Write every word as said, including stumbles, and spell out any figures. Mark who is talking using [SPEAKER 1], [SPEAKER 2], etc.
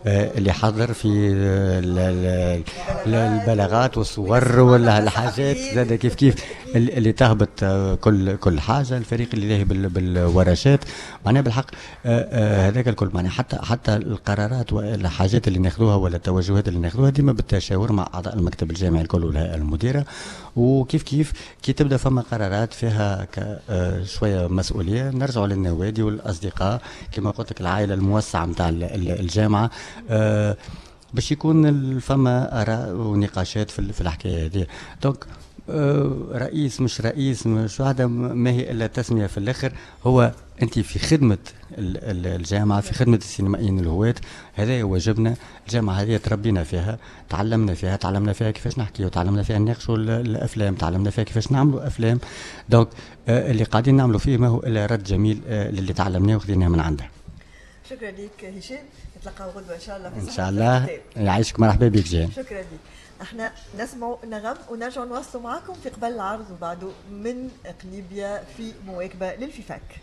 [SPEAKER 1] اللي حضر في البلاغات والصور ولا الحاجات زاد كيف كيف اللي تهبط كل كل حاجه، الفريق اللي لاهي بالورشات، معناها بالحق هذاك الكل، معناها حتى حتى القرارات والحاجات اللي ناخذوها ولا التوجهات اللي ناخذوها ديما بالتشاور مع اعضاء المكتب الجامعي الكل والهيئة المديره. وكيف كيف كي تبدا فما قرارات فيها شوية مسؤولية نرجعوا للنوادي والاصدقاء كما قلت لك، العائلة الموسعه نتاع الجامعه، آه، باش يكون فما اراء ونقاشات في في الحكاية هذه. donc آه، رئيس مش رئيس مش واحدة، ما هي الا تسميه. في الاخر هو انت في خدمة الجامعه، في خدمة السينمائيين الهواة، هذا واجبنا. الجامعة هذه تربينا فيها، تعلمنا فيها، تعلمنا فيها كيفاش نحكي، وتعلمنا فيها نناقشوا الافلام، تعلمنا فيها كيفاش نعملوا افلام. donc آه، اللي قاعدين نعملوا فيه ما هو الا رد جميل آه، للي تعلمناه وخذيناه من عندها.
[SPEAKER 2] شكرا لك هشام، نتلقاو غدوه ان شاء الله.
[SPEAKER 1] في ان شاء الله، يعيشك، مرحبا بك جان.
[SPEAKER 2] شكرا لك. احنا نسمع نغم ونرجع نواصلوا معكم في قبل العرض وبعده من قليبيا في مواكبة لل FIFAK.